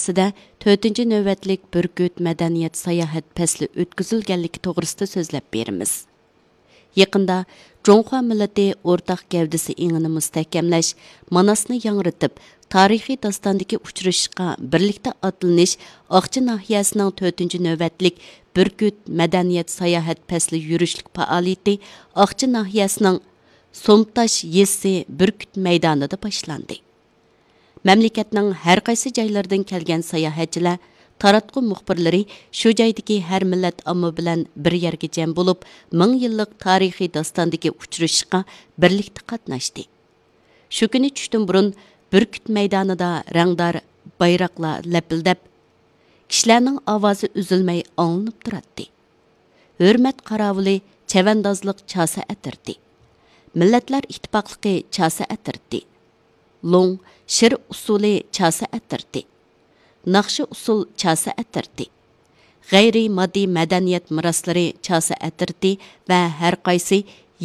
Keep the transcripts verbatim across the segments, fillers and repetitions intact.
سىدە تۆتىنچى نۆۋەتلىك بۈركۈت مەدەنىيەت ساياھەت پەسلى ئۆتكۈزۈلگەنلىكى توغرىسىدا سۆزلەپ بېرىمىز. يېقىندا جۇڭخۇا مىللىتى ئورتاق گەۋدىسى ئېڭىنى مۇستەھكەملەش، ماناسنى ياڭرىتىپ، تارىخىي داستاندىكى ئۇچرىشىشقا بىرلىكتە ئاتلىنىش ئاقچى ناھىيەسىنىڭ تۆتىنچى نۆۋەتلىك بۈركۈت مەدەنىيەت ساياھەت پەسلى يۈرۈشلۈك پائالىيىتى ئاقچى ناھىيەسىنىڭ سومتاش يېزىسى بۈركۈت مەيدانىدا باشلاندى. مەملىكەتنىڭ ھەر قايسى جايلىرىدىن كەلگەن ساياھەتچىلەر، تاراتقۇ مۇخبىرلىرى شۇ جايدىكى ھەر مىللەت ئامما بىلەن بىر يەرگە جەم بولۇپ، مىڭ يىللىق تارىخىي داستاندىكى ئۇچرىشىشقا بىرلىكتە قاتناشتى. شۇ كۈنى چۈشتىن بۇرۇن بۈركۈت مەيدانىدا رەڭدار بايراقلار لەپىلدەپ، كىشىلەرنىڭ ئاۋازى ئۈزۈلمەي ئاڭلىنىپ تۇراتتى. ھۆرمەت قاراۋۇلى چەۋەندازلىق چاسا ئەترىتى، مىللەتلەر ئىتتىپاقلىقى چاسا ئەترىتى، لوڭ شىر ئۇسسۇلى چاسا ئەترىتى، ناخشا ئۇسسۇل چاسا ئەترىتى، غەيرىي ماددىي مەدەنىيەت مىراسلىرى چاسا ئەترىتى ۋە ھەر قايسى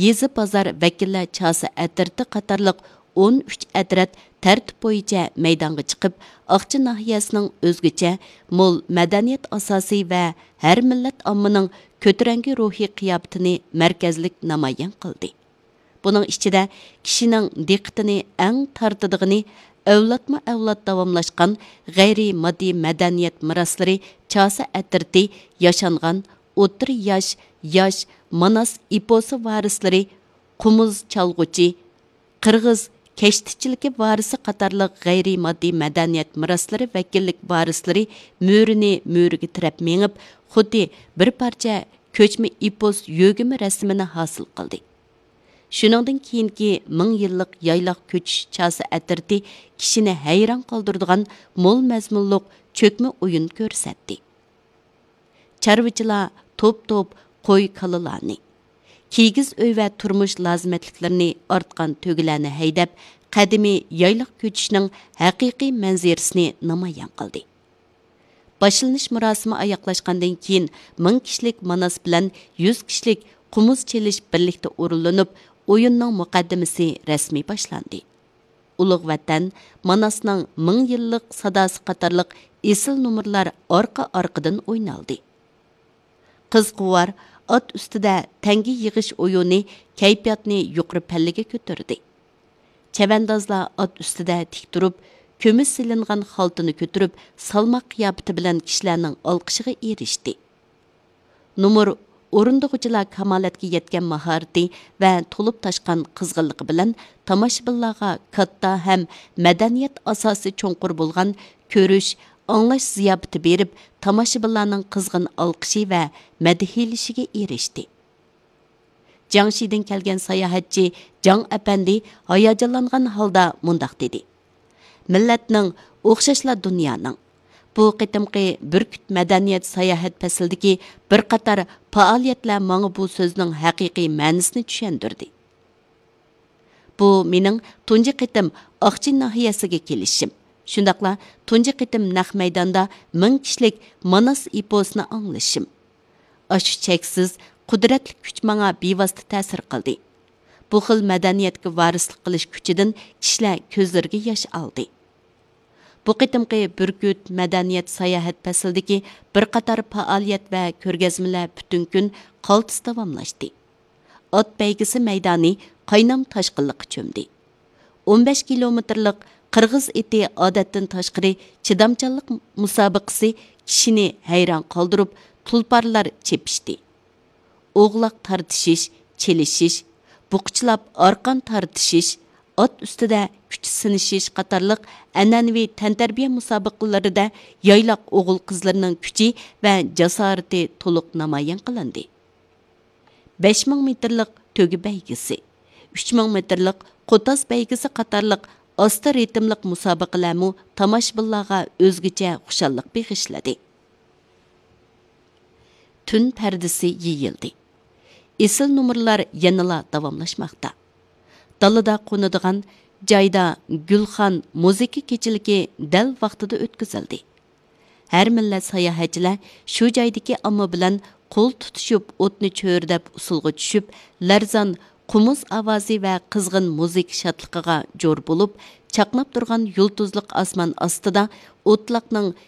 يېزا، بازار ۋەكىللەر چاسا ئەترىتى قاتارلىق ئون ئۈچ ئەترەت تەرتىپ بويىچە مەيدانغا چىقىپ، ئاقچى ناھىيەسىنىڭ ئۆزگىچە مول مەدەنىيەت ئاساسى ۋە ھەر مىللەت ئاممىنىڭ كۆتۈرەڭگۈ روھىي قىياپىتىنى مەركەزلىك نامايان قىلدى. بۇنىڭ ئىچىدە كىشىنىڭ دىققىتىنى ئەڭ تارتىدىغىنى ئەۋلادمۇ ئەۋلاد داۋاملاشقان غەيرىي ماددىي مەدەنىيەت مىراسلىرى چاسا ئەترىتى ياشانغان ئوتتۇرا ياش، ياش ماناس ئېپوسى ۋارىسلىرى، قومۇز چالغۇچى، قىرغىز كەشتىچىلىكى ۋارىسى قاتارلىق غەيرىي ماددىي مەدەنىيەت مىراسلىرى ۋەكىللىك ۋارىسلىرى مۈرىنى مۈرىگە تىرەپ مېڭىپ، خۇددى بىر پارچە كۆچمە ئېپوس يۆگىمە رەسىمىنى ھاسىل قىلدى. شۇنىڭدىن كېيىنكى مىڭ يىللىق يايلاق كۆچۈش چاسا ئەترىتى كىشىنى ھەيران قالدۇرىدىغان مول مەزمۇنلۇق چۆكمە ئويۇن كۆرسەتتى. چارۋىچىلار توپ-توپ قوي-كالىلارنى، كىگىز ئۆي ۋە تۇرمۇش لازىمەتلىكلىرىنى، ئارتقان تۆگىلەرنى ھەيدەپ، قەدىمىي يايلاق كۆچۈشنىڭ ھەقىقىي مەنزىرىسىنى نامايان قىلدى. باشلىنىش مۇراسىمى ئاياغلاشقاندىن كېيىن، مىڭ كىشىلىك ماناس بىلەن يۈز كىشىلىك قومۇز چېلىش بىرلىكتە ئورۇنلىنىپ، ئويۇننىڭ مۇقەددىمىسى رەسمىي باشلاندى. ئۇلۇغ ۋەتەن، ماناسنىڭ مىڭ يىللىق ساداسى قاتارلىق ئېسىل نومۇرلار ئارقا-ئارقىدىن ئوينالدى. قىزقۇۋار ئات ئۈستىدە تەڭگە يىغىش ئويۇنى كەيپىياتنى يۇقىرى پەللىگە كۆتۈردى. چەۋەندازلار ئات ئۈستىدە تىك تۇرۇپ، كۈمۈش سېلىنغان خالتىنى كۆتۈرۈپ، سالماق قىياپىتى بىلەن كىشىلەرنىڭ ئالقىشىغا ئېرىشتى. نومۇر ئورۇندىغۇچىلار كامالەتكە يەتكەن ماھارىتى ۋە تولۇپ تاشقان قىزغىنلىقى بىلەن تاماشىبىنلارغا كاتتا ھەم مەدەنىيەت ئاساسى چوڭقۇر بولغان كۆرۈش، ئاڭلاش زىياپىتى بېرىپ، تاماشىبىنلارنىڭ قىزغىن ئالقىشى ۋە مەدھىيلىشىگە ئېرىشتى. جياڭشىدىن كەلگەن ساياھەتچى جاڭ ئەپەندى ھاياجانلانغان ھالدا مۇنداق دېدى: مىللەتنىڭ، ئوخشاشلا دۇنيانىڭ، بۇ قېتىمقى بۈركۈت مەدەنىيەت ساياھەت پەسلىدىكى بىر قاتار پائالىيەتلەر ماڭا بۇ سۆزنىڭ ھەقىقىي مەنىسىنى چۈشەندۈردى. بۇ مېنىڭ تۇنجى قېتىم ئاقچى ناھىيەسىگە كېلىشىم، شۇنداقلا تۇنجى قېتىم نەق مەيداندا مىڭ كىشىلىك ماناس ئېپوسىنى ئاڭلىشىم. ئاشۇ چەكسىز، قۇدرەتلىك كۈچ ماڭا بىۋاسىتە تەسىر قىلدى. بۇ خىل مەدەنىيەتكە ۋارىسلىق قىلىش كۈچىدىن كىشىلەر كۆزلىرىگە ياش ئالدى. بۇ قېتىمقى بۈركۈت مەدەنىيەت ساياھەت پەسلىدىكى بىر قاتار پائالىيەت ۋە كۆرگەزمىلەر پۈتۈن كۈن قالتىس داۋاملاشتى. ئات بەيگىسى مەيدانى قاينام تاشقىنلىققا چۆمدى. ئون بەش كىلومېتىرلىق قىرغىز ئېتى ئادەتتىن تاشقىرى چىدامچانلىق مۇسابىقىسى كىشىنى ھەيران قالدۇرۇپ، تۇلپارلار چېپىشتى. ئوغلاق تارتىشىش، چېلىشىش، بۇقىچىلاپ ئارقان تارتىشىش، ئات ئۈستىدە كۈچ سىنىشىش قاتارلىق ئەنئەنىۋى تەنتەربىيە مۇسابىقىلىرىدە يايلاق ئوغۇل-قىزلىرىنىڭ كۈچى ۋە جاسارىتى تولۇق نامايان قىلىندى. بەش مىڭ مېتىرلىق تۆگە بەيگىسى، ئۈچ مىڭ مېتىرلىق قوتاز بەيگىسى قاتارلىق ئاستا رىتىملىق مۇسابىقىلەرمۇ تاماشىبىنلارغا ئۆزگىچە خۇشاللىق بېغىشلىدى. تۈن پەردىسى يېيىلدى. ئېسىل نومۇرلار يەنىلا داۋاملاشماقتا. دالىدا قونىدىغان جايدا گۈلخان مۇزىكا كېچىلىكى دەل ۋاقتىدا ئۆتكۈزۈلدى. ھەر مىللەت ساياھەتچىلەر شۇ جايدىكى ئامما بىلەن قول تۇتۇشۇپ، ئوتنى چۆرىدەپ ئۇسسۇلغا چۈشۈپ، لەرزان قومۇز ئاۋازى ۋە قىزغىن مۇزىكا شادلىقىغا جور بولۇپ، چاقناپ تۇرغان يۇلتۇزلۇق ئاسمان ئاستىدا ئوتلاقنىڭ